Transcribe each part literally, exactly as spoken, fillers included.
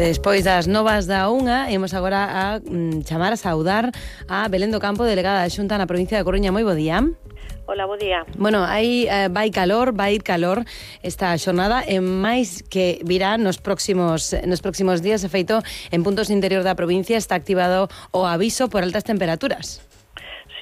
Despois das novas da unha, imos agora a mm, chamar a saudar a Belén do Campo, delegada da Xunta na provincia de Coruña. Moi bo día. Hola, bo día. Bueno, aí eh, vai calor, vai ir calor esta xornada e máis que virá nos próximos nos próximos días. De feito, en puntos interior da provincia está activado o aviso por altas temperaturas.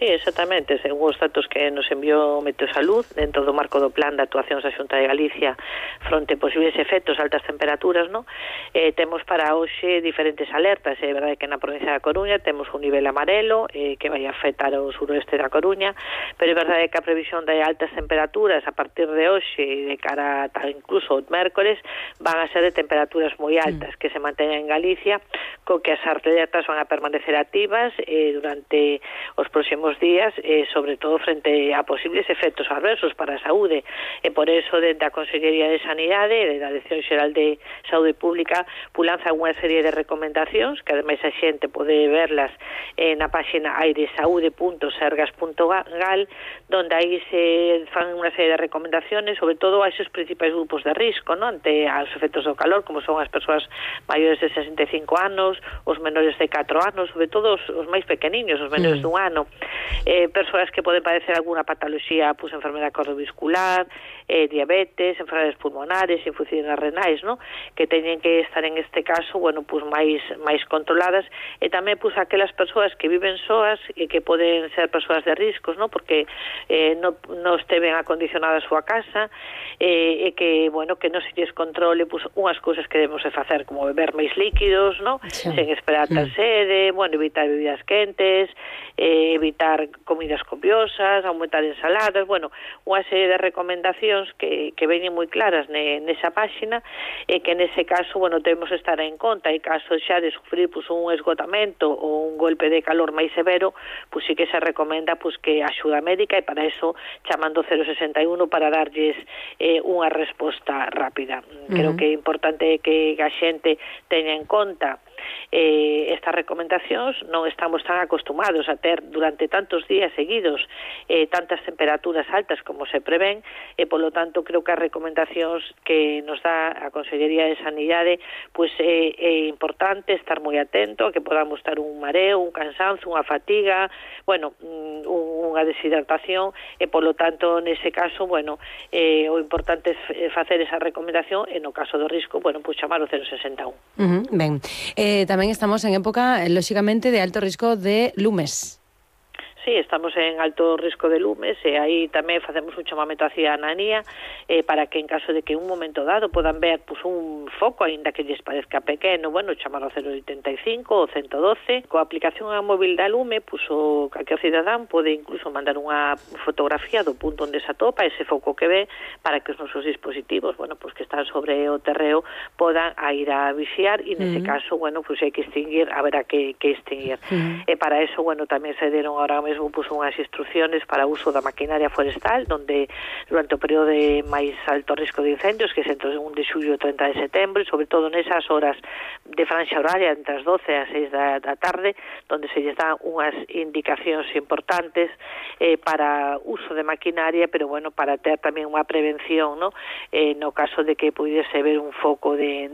Sí, exactamente, según os datos que nos enviou Meteosalud dentro do marco do plan de actuacións da Xunta de Galicia fronte a posibles efectos altas temperaturas, no? Eh, temos para hoxe diferentes alertas. É verdade que na provincia da Coruña temos un nivel amarelo eh, que vai afectar o suroeste da Coruña, pero é verdade que a previsión de altas temperaturas a partir de hoxe e de cara a incluso o mércores van a ser de temperaturas moi altas mm. que se manteñen en Galicia, co que as alertas van a permanecer activas eh, durante os próximos días, eh, sobre todo frente a posibles efectos adversos para a saúde, e por eso desde a Consellería de Sanidade e da Dirección Xeral de Saúde Pública pues, lanza unha serie de recomendacións que ademais a xente pode verlas eh, na páxina airesaude punto sergas punto gal, donde aí se fan unha serie de recomendaciones sobre todo a esos principais grupos de risco, ¿no? Ante os efectos do calor, como son as persoas maiores de sesenta e cinco anos, os menores de catro anos, sobre todo os, os máis pequeniños, os menores mm. dun ano, eh, persoas que poden padecer alguna patoloxía, pues enfermedade cardiovascular, eh, diabetes, enfermedades pulmonares, infusiones renais, ¿no? Que teñen que estar en este caso, bueno, pues máis máis controladas, e tamén pues aquelas persoas que viven soas e que poden ser persoas de riscos, ¿no? Porque eh, no, no esteven acondicionada a súa casa, eh, e que, bueno, que non se lles controle pues unhas cousas que debemos de facer, como beber máis líquidos, ¿no? Sí. Sen esperar tal mm. sede, bueno, evitar bebidas quentes, eh, evitar comidas copiosas, aumentar ensaladas, bueno, unha serie de recomendacións que, que veñen moi claras ne, nesa páxina, e que nese caso, bueno, temos que estar en conta, e caso xa de sufrir pues, un esgotamento ou un golpe de calor máis severo, pues sí que se recomenda pues, que axuda médica, e para eso chamando cero sesenta e un para darlles eh, unha resposta rápida. Uh-huh. Creo que é importante que a xente teña en conta Eh, estas recomendacións. Non estamos tan acostumados a ter durante tantos días seguidos eh, tantas temperaturas altas como se prevén, e polo tanto creo que as recomendacións que nos dá a Consellería de Sanidade pues é, é importante estar moi atento a que podamos estar un mareo, un cansanzo, unha fatiga, bueno, un, unha deshidratación, e polo tanto nese caso, bueno, eh, o importante é facer esa recomendación, e no caso do risco, bueno, pues chamar o cero sesenta e un. Uh-huh, ben, eh, tamén estamos en época, lóxicamente, de alto risco de lumes. Sí, estamos en alto risco de lumes, e aí tamén facemos un chamamento á cidadanía eh, para que en caso de que un momento dado podan ver pues, un foco, aínda que lles parezca pequeno, bueno, chamar ao cero oitenta e cinco ou ciento doce. Coa aplicación a móvil da lume, pues, o calquer cidadán pode incluso mandar unha fotografía do punto onde se atopa ese foco que ve, para que os nosos dispositivos, bueno, pues, que están sobre o terreo podan a ir a vixiar, e nese uh -huh. caso, bueno, pues hai que extinguir, haberá que, que extinguir. Uh -huh. E para eso, bueno, tamén se deron ahora mesmo pues, unhas instrucciones para o uso da maquinaria forestal, donde durante o período de máis alto risco de incendios, que é entre o un de xullo e o treinta de setembro, sobre todo nesas horas de franxa horaria entre as doce e as seis da, da tarde, donde se lles dan unhas indicacións importantes eh, para uso de maquinaria, pero bueno, para ter tamén unha prevención, ¿no? Eh, no caso de que pudiese haber un foco de